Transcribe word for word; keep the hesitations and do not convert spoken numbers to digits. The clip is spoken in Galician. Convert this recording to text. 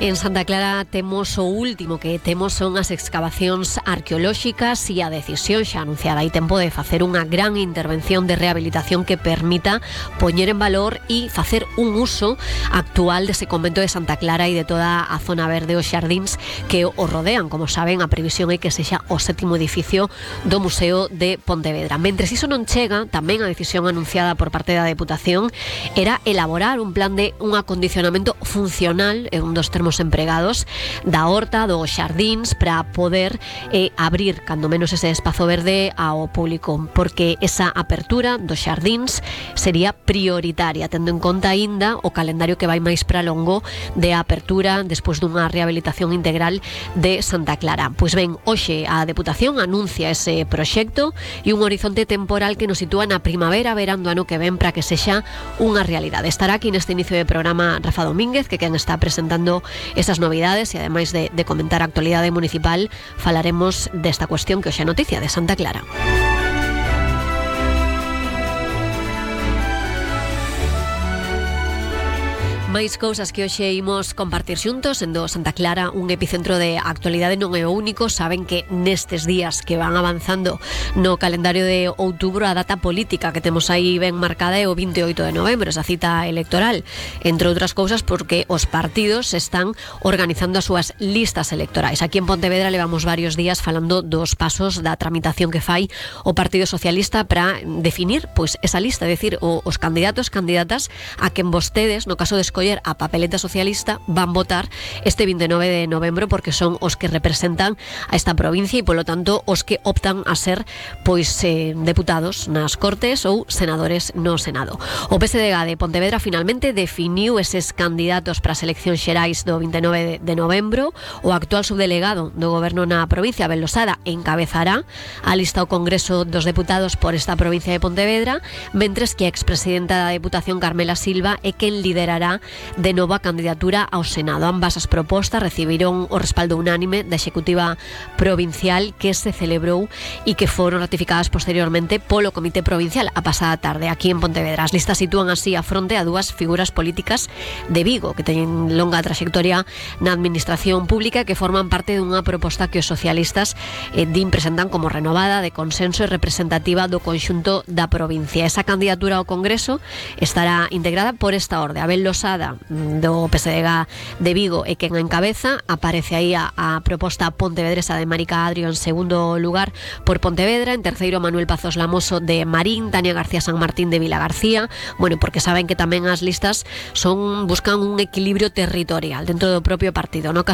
En Santa Clara temos o último que temos son as excavacións arqueolóxicas e a decisión xa anunciada hai tempo de facer unha gran intervención de rehabilitación que permita poñer en valor e facer un uso actual dese convento de Santa Clara e de toda a zona verde, os xardíns que o rodean. Como saben, a previsión é que sexa o sétimo edificio do Museo de Pontevedra. Mentres iso non chega, tamén a decisión anunciada por parte da Deputación era elaborar un plan de un acondicionamento funcional, é un dos termos empregados, da horta, dos xardíns, para poder eh, abrir cando menos ese espazo verde ao público, porque esa apertura dos xardíns sería prioritaria, tendo en conta aínda o calendario que vai máis para longo de apertura despois dunha rehabilitación integral de Santa Clara. Pois ben, hoxe a Deputación anuncia ese proxecto e un horizonte temporal que nos sitúa na primavera, verán do ano que ven, para que sexa unha realidade. Estará aquí neste inicio de programa Rafa Domínguez, que quen está presentando esas novidades e ademais de, de comentar a actualidade municipal, falaremos desta cuestión que hoxe é noticia de Santa Clara. Máis cousas que hoxe imos compartir xuntos, sendo Santa Clara un epicentro de actualidade non é o único. Saben que nestes días que van avanzando no calendario de outubro, a data política que temos aí ben marcada é o vinte e oito de novembro, esa cita electoral, entre outras cousas porque os partidos están organizando as súas listas electorais. Aquí en Pontevedra levamos varios días falando dos pasos da tramitación que fai o Partido Socialista para definir pois esa lista, é dicir, os candidatos, candidatas a quen vostedes, no caso de escoller a papeleta socialista, van votar este vinte e nove de novembro, porque son os que representan a esta provincia e, polo tanto, os que optan a ser pois eh, deputados nas Cortes ou senadores no Senado. O P S D G de Pontevedra finalmente definiu eses candidatos para as eleccións xerais do vinte e nove de novembro. O actual subdelegado do Goberno na provincia, Abel Losada, encabezará a lista ao Congreso dos Deputados por esta provincia de Pontevedra, mentres que a expresidenta da Deputación, Carmela Silva, é quen liderará de nova candidatura ao Senado. Ambas as propostas recibiron o respaldo unánime da Executiva Provincial, que se celebrou e que foron ratificadas posteriormente polo Comité Provincial a pasada tarde aquí en Pontevedra. As listas sitúan así a fronte a dúas figuras políticas de Vigo que teñen longa trayectoria na administración pública e que forman parte dunha proposta que os socialistas eh, din presentan como renovada, de consenso e representativa do conxunto da provincia. Esa candidatura ao Congreso estará integrada por esta orde: Abel Losada do P S D G de Vigo e quen encabeza. Aparece aí a, a proposta pontevedresa de Marica Adrio en segundo lugar por Pontevedra, en terceiro Manuel Pazos Lamoso de Marín, Tania García San Martín de Vilagarcía. Bueno, porque saben que tamén as listas son buscan un equilibrio territorial dentro do propio partido. No caso